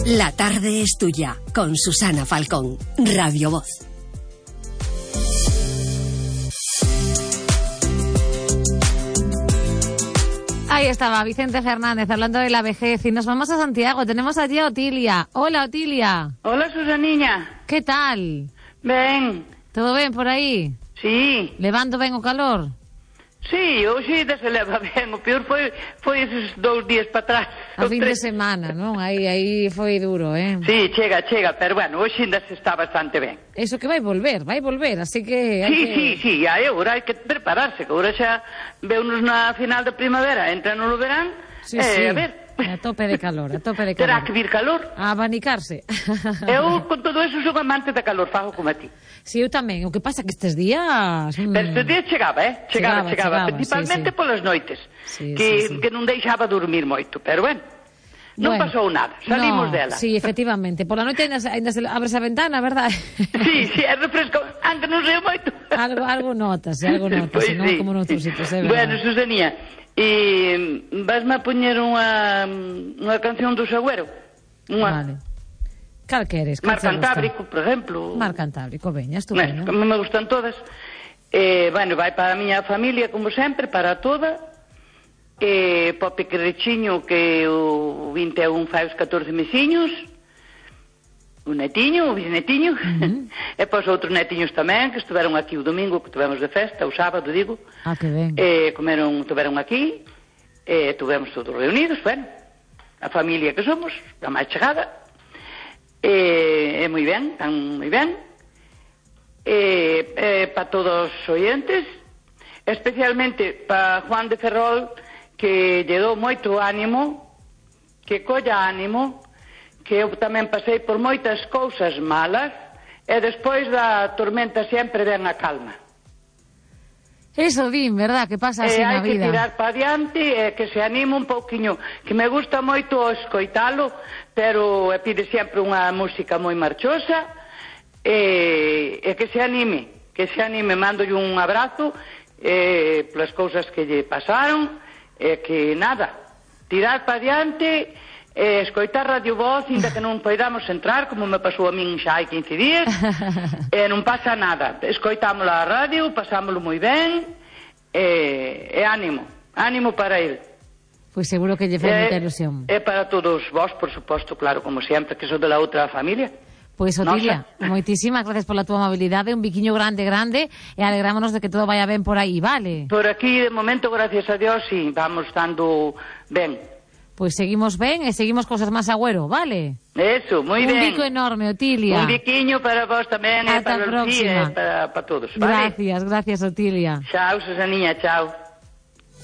La tarde es tuya, con Susana Falcón, Radio Voz. Ahí estaba Vicente Fernández hablando de la vejez y nos vamos a Santiago. Tenemos allí a Otilia. Hola, Otilia. Hola, Susaniña. ¿Qué tal? Ben. Todo ben por aí? Sí. Levando ben o calor? Sí, hoxe se leva ben. O peor foi esos 2 días para atrás. A fin de semana, non? Aí foi duro, eh? Sí, chega, pero bueno, hoxe ainda se está bastante ben. Eso que vai volver, así que... Sí, agora hai que prepararse, que agora xa veunos na final da primavera, entra no verán, sí. A ver... A tope de calor. Terá que vir calor. A abanicarse. Eu, con todo eso, sou amante da calor, fago como a ti. Sí, eu tamén. O que pasa que estes días... Pero estes días chegaba. Principalmente sí. Polas noites. Sí. Que non deixaba dormir moito. Pero bueno, non pasou nada. Salimos dela. Sí, efectivamente. Pola noite ainda se abres a ventana, verdad? Sí, é refresco. Antes non sei moito. Algo notas, pues non sí. como noutros sitios, é verdad. Bueno, Susanía, vasme a poñer unha canción do Sagüero. Vale. Cal queres? Mar Cantábrico, por exemplo. Mar Cantábrico, veña, estupendo. Bueno, me gustan todas. Bueno, vai para a miña familia, como sempre, para toda. Para o pequerechiño, que o 21 fai os 14 mesiños. O netiño, o bisnetiño. E para os outros netiños tamén, que estiveron aquí o domingo, que tivemos de festa, o sábado, digo. Que ben. Estiveron aquí, tivemos todos reunidos, bueno, a familia que somos, a máis chegada. Moi ben, tan moi ben. Para todos os oyentes, especialmente para Juan de Ferrol, que lle dou moito ánimo, que colla ánimo, que eu tamén pasei por moitas cousas malas, e despois da tormenta sempre ven a calma. Eso din, verdad, que pasa así na vida. Hai que tirar para adiante e que se anime un pouquiño, que me gusta moito escoitalo, pero pide sempre unha música moi marchosa, e que se anime, mandolle un abrazo polas cousas que lle pasaron, e que nada, tirar para adiante, escoitar Radio Voz, ainda que non poidamos entrar, como me pasou a min xa hai 15 días, non pasa nada. Escoitámosla a radio, pasámoslo moi ben, e ánimo para ele. Pois seguro que lle fai moita ilusión. E para todos vós, por suposto, claro, como sempre, que sou de la outra familia. Pois, Otilia, moitísimas gracias pola túa amabilidade, un biquiño grande, e alegrámonos de que todo vaya ben por aí, vale? Por aquí, de momento, gracias a Dios, sí, vamos dando ben. Pois seguimos ben e seguimos cosas máis agüero, vale? Eso, moi ben. Un bico enorme, Otilia. Un biquiño para vos tamén, para Lucía, para todos, vale? Gracias, Otilia. Chao, Susaniña, chao.